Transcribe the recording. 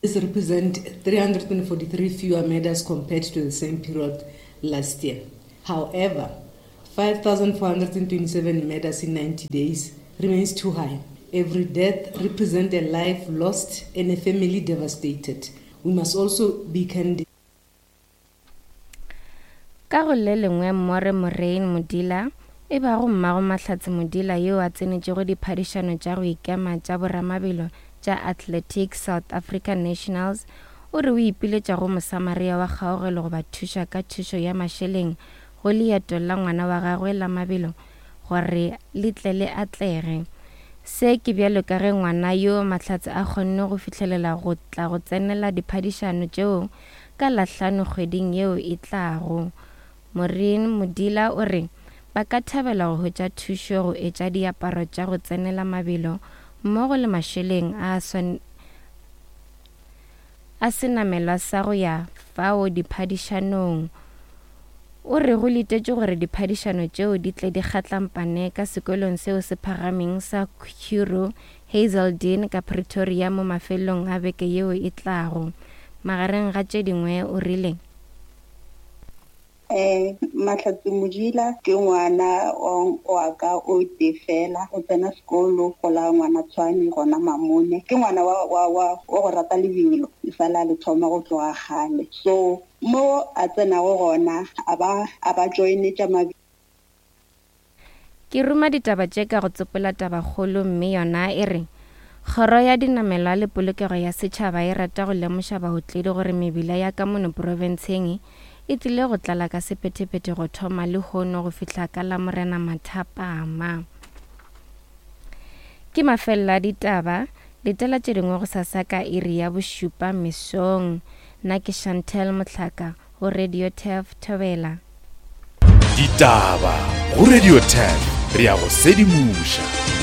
This represents 343 fewer murders compared to the same period last year. However, 5,427 murders in 90 days remains too high. Every death represents a life lost and a family devastated. We must also be candid. Ka go le lengwe More Moraine Modila, e bago mmago Mahlatse Modila yo a tsenetšego diphadišano tša go ikema tša boramabelo tša Athletics South Africa Nationals, o re o ipiletša go Mosamaria wa kgaogelo go ba thuša ka thušo ya mašeleng go leeto la ngwana wa gagwe la mabelo gore le tle le atlege. Se ke bjalo ka ge ngwana yo Mahlatse a kgonne go fihlelela go tla go tsenela diphadišano tšeo ka Lahlano kgweding yeo e tlago. Maureen Modila o re ba ka thabela go hwetša thušo go etša diaparo tša go tsenela mabelo mmogo le mašeleng a a senamelwa sa go ya fao diphadišanong. O re go letetšwe gore diphadišano tšeo di tle di kgatlampane ka sekolong seo se phagameng sa Curro Hazeldean ka Pretoria mo mafelelong a beke yeo e tlago. Magareng ga tše dingwe o rile. Um Mahlatse Modila ke ngwana wa ka o tee fela, o tsena sekolo go la ngwana Tshwane gona Mamone. Ke ngwana wa, wa, wa, wa go rata lebelo, e sa le a le thoma go tloga kgale. So mo a tsenago gona a ba, a ba joine tša mabelo. Ke ruma ditaba tše ka go tsopola tabakgolo mme yona e re, Kgoro ya Dinamelwa le Polokego ya Setšhaba e rata go lemoša baotledi gore mebila ya ka mono profenseng e tlile go tlala ka sephethephethe go thoma lehono go fihla ka Lamorena mathapama. Ke mafelelo a ditaba, letela tše dingwe gosasa ka iri ya bošupa mesong. Nna ke Chantel Mohlaka. Go Radio Turf Thobela. Ditaba go Radio Turf re ya go sedimoša.